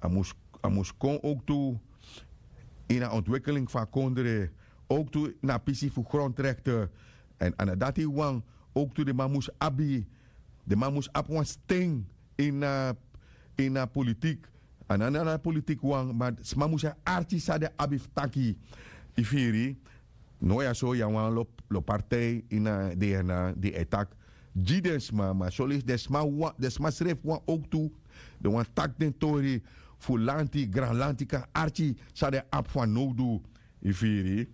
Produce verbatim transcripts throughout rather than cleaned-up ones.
a mus kon owktu ini a ontwekeling fu a kondre, owktu ini a pisi fu grondrekte. Èn a no dati wawan, owktu den man mus abi den man mus abi wan sten ini a ini a politik. A no na na politik wawan ma sma mus e arki san den abi fu taki. Yu firi? No ya so ya wan lo partij ini a dna di e taki gi den sma ma soleisi den sma srefi wan owktu den wani taki den tori fu lanti granlanti kan arki san den abi fanowdu. Yu firi?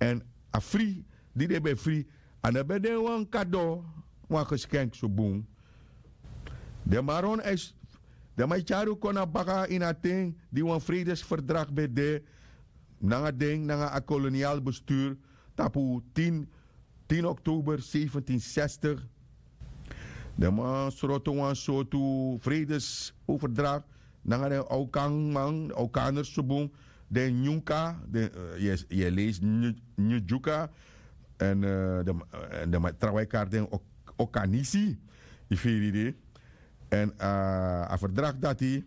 Èn a fri di den ben fri a no ben de wan kado, wan geskenk so bun. Den man ron den man e tyari un kon na baka ini a ten di wan fredesverdrag ben de nanga den nanga a kolonial bestur tapu tin tin oktober sefentin sestig. Den man sroto wan sortu fredes overdrag nanga den awkanman awkaners so bun, den nyunka den yu e leisi nyudyuka èn den man trawan e kari den okanisi. Yu firi di? Èn a verdrag dati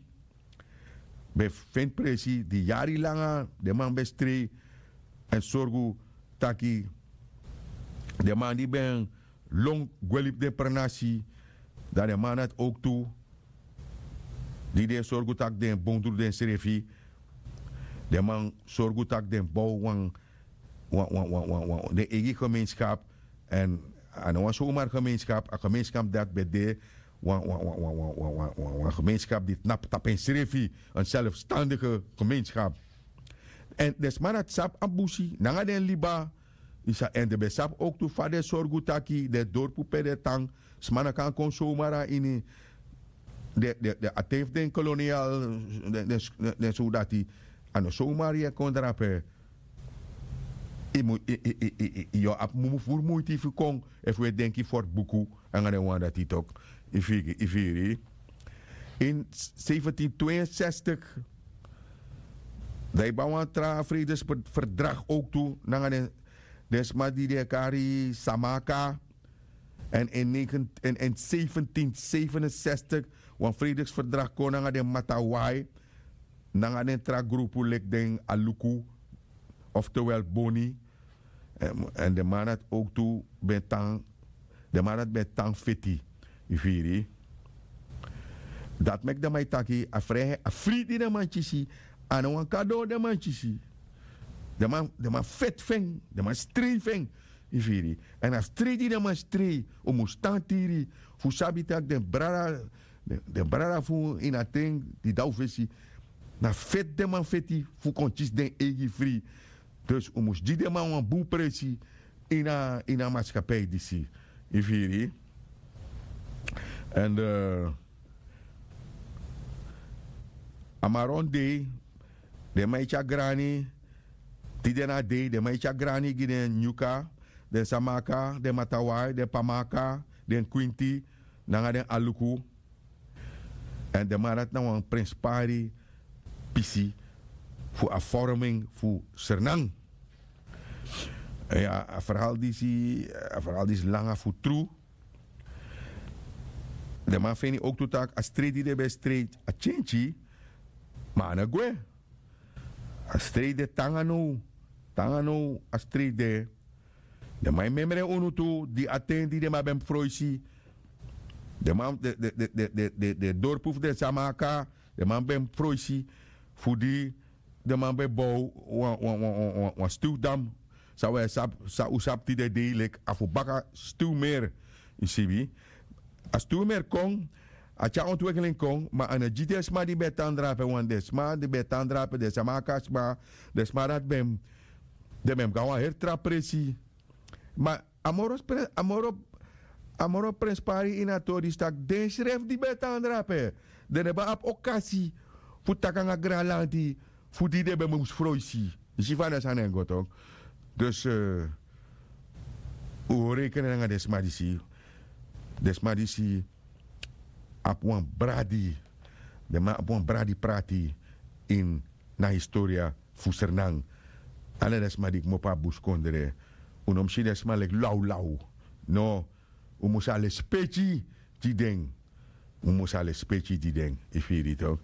ben feni presi di yari langa den man ben strei èn sorgu taki den man di ben lon gwe libi den prenasi dan den man dati owktu di den e sorgu tak' den bondru densrefi. Den man sorgu tak' den bow wan wan wan wan wan den eigi gemeenskap. Èn a no wan somar gemeenskap a gemeenskap dati ben de wan wan wan wan wan wan wan gemeenskap di tnapu tapu ensrefi. Enselfstandige gemeenskap. Èn den sma dati sabi a busi nanga den liba. Yu sa èn den ben sabi owktu fa den sorgu taki den dorpu pe den tan sma no kan kon somar na ini den a ten fu den kolonial den sowdati. A no somar yu e kon drape. Yu o abi mumu furu muiti fu kon efu wi e denki fortbuku nanga den wan dati tok. Yu firi? In sefentin tweeensestig dan yu ban wan tra fredesverdrag owktu nanga den sma di den e kari samaka. Èn in sefentin sefenensestig wan fredesverdrag kon nanga den matawai nanga den tra grupu leki den aluku oftewel boni. Èn den man dati owktu ben tan den man dati ben tan feti. Yu firi? Dati meki den man e taki a fri di den man kisi a no wan kado den man kisi. Den man feti fu en den man strei fu en. Yu firi? Èn a strei di den man strei un mus tan tiri fu sabi tak' den brada den brada fu un ini a ten di de na un fesi na feti den man feti fu kon kisi den eigi fri. Dus un mus gi den man wan bun presi ini a maskapei disi. Yu firi? Èn a maron dei den man e tyari grani tide na dei den man e tyari grani gi den nyuka, den samaka, den matawai, den pamaka, den kwinti nanga den aluku. Èn den man dati na wan prenspari pisi fu a vorming fu sernan. A verhal disi a verhal disi langa fu tru. Den man feni owktu tak' a strei di den ben strei a tyentyi. Ma a no gwe. A strei de tanga now. Tanga now a strei de. Den man e memre unu tu di a ten di den man ben mus froisi. Den man den dorpu fu den sama aka den man ben mus froisi fu di den man ben bow wan wan wan wan wan stiw dam. San un e sabi san un sabi tide dei leki a fu baka stiw meri. Yu sibi? A stiw meri kon a tyari ontwekeling kon ma a no gi den sma di ben e tan drape wan den sma di ben e tan drape den sama aka sma den sma dati ben den ben mus go na wan heri tra presi. Ma a moro a moro a moro prenspari ini a tori disi tak' den srefi di ben e tan drape den no ben abi okasi fu taki nanga granlanti fu di den ben mus froisi. Yu si fa den sani e go tok. Dus un o reikene nanga den sma disi. Den sma disi abi wan bradi den man abi wan bradi prati ini na historia fu sernan. Ala den sma di kmopo na buskondre un no mus si den sma leki lawlaw. No. Un mus a lespeki gi den. Un mus a lespeki gi den. Yu firi tok?